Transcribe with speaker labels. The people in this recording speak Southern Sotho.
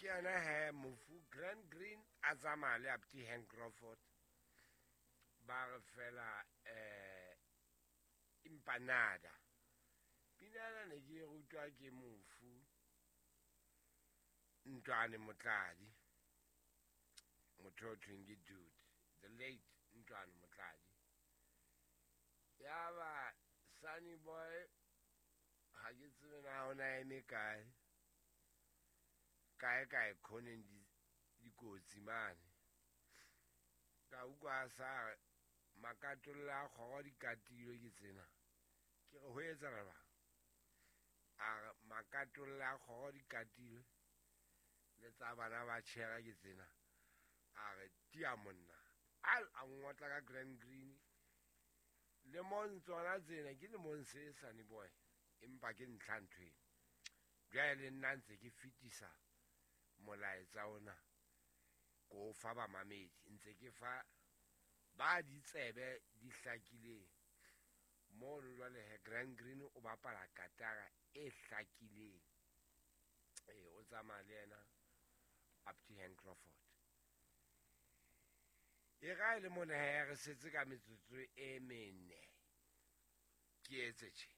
Speaker 1: Ke yena he mofu Grand Green a tsamaya le Apti Hank Crawford, ba re fela empanada. Pina ena ne ke e rutwa ke mofu Ntwane Motladi, motho o thweng ke Dude, the late Ntwane Motladi. Ya ba Sunny Boy, ga ke tsebe na o na eme kae kae kae khoneng dikotsi mane. Ka utlwa a sa re makatolla a kgoro di katilwe ke tsena. Ke re ho etsahala jwang? A re makatolla a kgoro di katilwe le tsa bana ba tjhera ke tsena. A re tia monna, a ngotla ka Grand Green. Lemong tsona tsena ke lemong se Sunny Boy, empa ke ntlha ntho eno. Jwale le nna ntse ke fetisa molaetsa ona ko o fa bamamedi, ntse ke fa ba ditsebe di hlakileng mono. Jwale he Grand Green o bapala katara e hlakileng, ee, o tsamaya le yena Apti Hank Crawford. E ra e le mona he re setse ka metsotso e mene ke etse tje.